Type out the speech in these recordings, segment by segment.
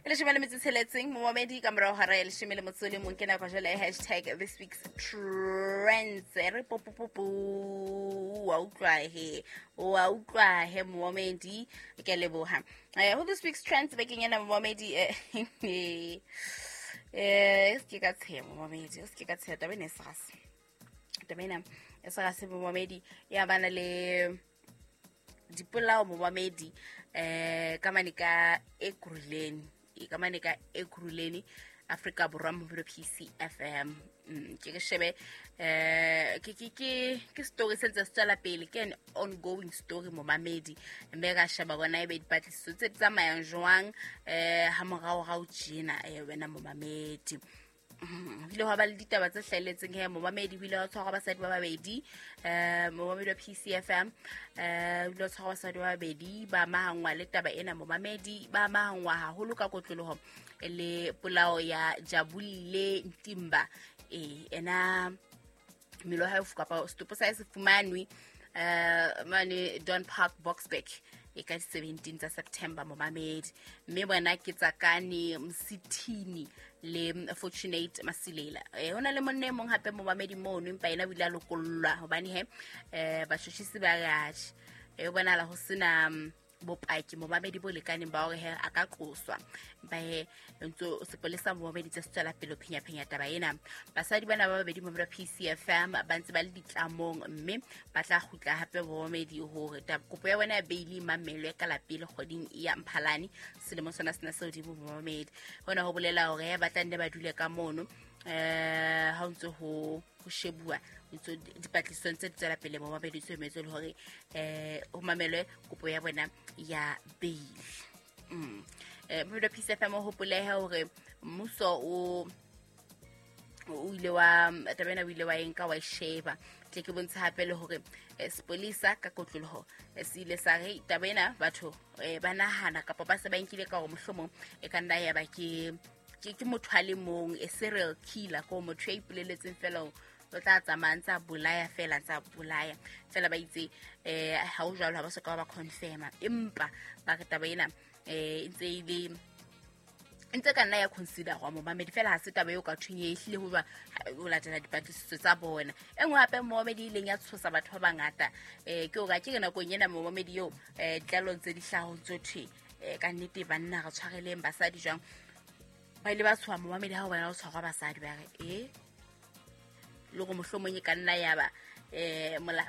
E 16 momamedi ka morago hora ya 11, ke nako jale ya hashtag this week's trends. Re popopopo, wa utlwa he, wa utlwa he momamedi, ke a leboha. Ho this week's trends bekeng ena momamedi, se ke ka tsheha momamedi, se ke ka tsheha, taba ena e serase, taba ena e serase momamedi, ya bana le dipolao momamedi, ka mane ka Ekurhuleni, ka mane ka Ekurhuleni, Afrika Borwa, mobilo PCFM. Ke ke shebe, ke story se ntse se tswela pele, ke an ongoing story momamedi, mme ka sheba bona ebe dipatlisiso tse di tsamayang jwang ha morao rao tjena, wena momamedi. Ho ile hwa ba le ditaba tse hlahelletseng he momamedi, ho ile hwa tshwarwa basadi ba babedi, momamedi wa PCFM, ho ile hwa tshwarwa basadi ba babedi ba amahangwa le taba ena momamedi, ba amahangwa haholo ka kotloloho le polao ya Jabulile Ntimba. Ena mmele wa hae kapa setopo sa hae se fumanwe mane Don Park, Boksburg, e ka di-17 tsa September momamedi, mme bona ke Tsakane Msithini le Fortunate Masilela. Ho na le monna e mong hape momamedi mono, empa yena o ile a lokollwa hobane he batjhotjhisi ba re atjhe, ho bonahala ho sena bopaki momamedi bo lekaneng ba hore he a ka qoswa, empa he ntso sepolesa momamedi tse se tswela pele ho phenya-phenya taba ena. Basadi bana ba babedi momamedi wa PCFM ba ntse ba le ditlamong, mme ba tla kgutla hape momamedi hore kopo ya bona ya beili mamelwe ka lapele kgweding ya Mphalane selemo sona sena se hodimo momamedi. Hona ho bolela hore he ba tla nne ba dule ka mono ha o ntse ho shebuwa, ntso dipatlisisong tse di tswela pele momamedi, tse emetse le hore ho mamelwe kopo ya bona ya bail. Momamedi wa PCFM, o hopolehe hore mmuso o ile wa taba ena, o ile wa enka wa e sheba. Tle ke bontshe hape le hore sepolesa ka kotloloho se ile sa re taba ena batho ba nahana kapa ba se ba nkile ka hore mohlomong e ka nna ya ba ke motho a le mong, a serial killer, ko motho ya ipoleletseng fela o tla tsamaya ntse a bolaya fela, ntse a bolaya fela. Ba itse ha o jwalo, ha ba soka ba confirma, empa ba re taba ena e ntse e le ntse ka nna ya considerwa momamedi, fela ha se taba eo ka thweng e ehlile ho ba ho latela dipatlisiso tsa bona. E nngwe hape momamedi e ileng ya tshosa batho ba bangata, ke hore a ke re nakong ena momamedi eo, ditlalong tse di hlahong tso thwe, ka nnete banna re tshwareleng basadi jwang, ba ile ba tshoha momamedi ha ho bona ho tshwarwa basadi, ba re le gore mohlomong e ka nna ya ba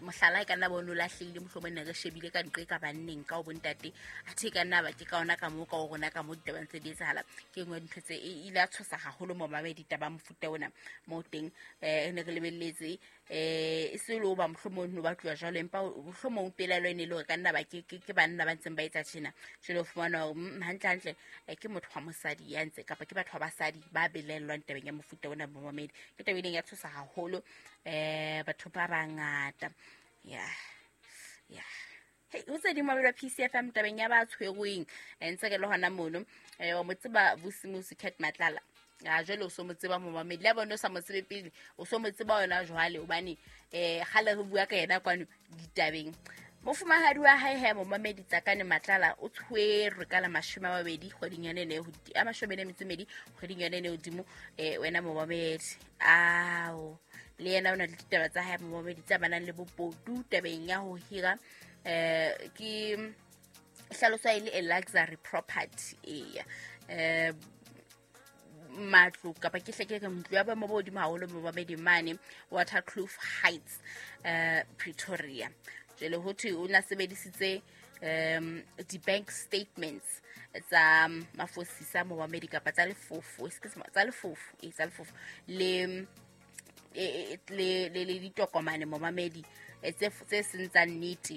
mohlala e ka nna bone o lahlehile, mohlomong ne re shebile ka nqe ka banneng ka o bontate, athe e ka nna ba ke ka ona ka moo ka o rona ka mo ditabang tse di etsahala. Ke nngwe ya dintho tse e ile ya tshosa haholo momamedi, taba mofuta ona mo teng ne re lebelletse e se le o ba mohlomong no batluwa jwalo, empa mohlomong pelaelo e ne e le hore ka nna ba ke banna ba ntseng ba etsa tjena. Jwale o fumana hore hantle hantle ke motho wa mosadi ya ntse kapa ke batho ba basadi ba belellwang tabeng ya mofuta ona momamedi. Ke taba e ileng ya tshosa haholo batho ba bangata. Ya hey, ho tse ding mabelo a PCFM tabeng ya ba tshwerweng, ntse ke le hona mono, wa mo tseba Vusimusi Cat Matlala, a jwale o so mo tseba momamedi, le bone o sa mo tsebe pele, o so mo tseba yona jwale, hobane kgale re bua ka yena kwano ditabeng. Mofumahadi wa hae he momamedi Tsakane Matlala o tshwerwe ka la 20 kgweding yone ene a 42 kgweding yone ene hodimo, wena momamedi. Ao le yena o na le ditaba tsa hae momamedi tse amanang le bobodu tabeng ya ho hira, ke hlaloswa e le a luxury property, eya, matlo kapa ke hle ke re ntlo ya boemo bo hodimo haholo momamedi mane Waterkloof Heights, Pretoria. Jwale ho thwe o na sebedisitse di-bank statements tsa mafosisa momamedi, kapa tsa lefofo, tsa lefofo, tsa lefofo le ditokomane momamedi, tse seng tsa nnete.